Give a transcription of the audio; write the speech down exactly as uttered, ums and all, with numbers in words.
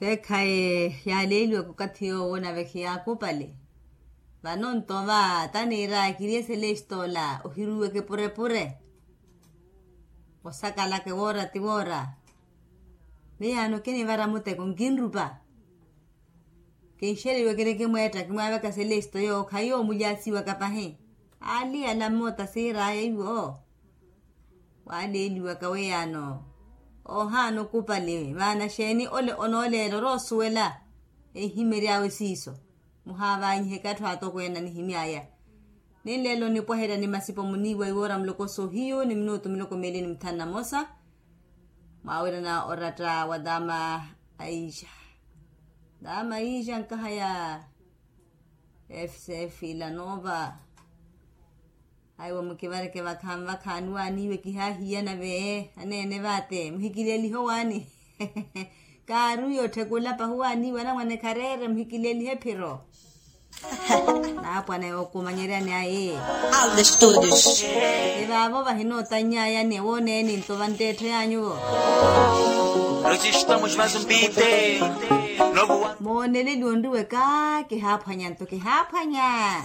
Kheekhayi yaaleeliwaka okathi yoowo nave khiyaakupale. Vano nto va taniira kiriye selestoola ohiruweke purepure. Osakalaka ewoora ti woora. Miyaano kinivara muteko nkinrupa. Kinxeriweke ni kimweetta kimwaavaka selesto yoowo khayi yoomulyasiwaka pahi. Aali ala mmoota siiraya iwo. Waaleeliwaka weiyaano. Oohaana okupale maana xeeni ole onooleela oroosuwela. Enhimery'awe siiso. Muhaavanyihe katthu atokweene anihimy'aya. Ninleela onipwaherya ni masipo muniiwa iwoora muloko soohiyu ni minutu miloko meeli ni muthanu na mosa. Mwaawirana oratta wa daama aisha. Daama aisha nkahaya. Fcf ilanova. Aiwa mukivareke vakhanvakha aniwaaniwe kihahiyana ve aneene vate muhikilelihe owaani. Kaaruyo tthekula pahuwaaniwe anamwane khareere muhikilelihe phiro. Naapwana yookumanyeryani aye. Alde studios. Evaavo vahinootanny'aya ni ewooneni nto vantteettho yaanyuvo. Mooneleliwe onriwe ka kihaaphwanya nto kihaaphwanya.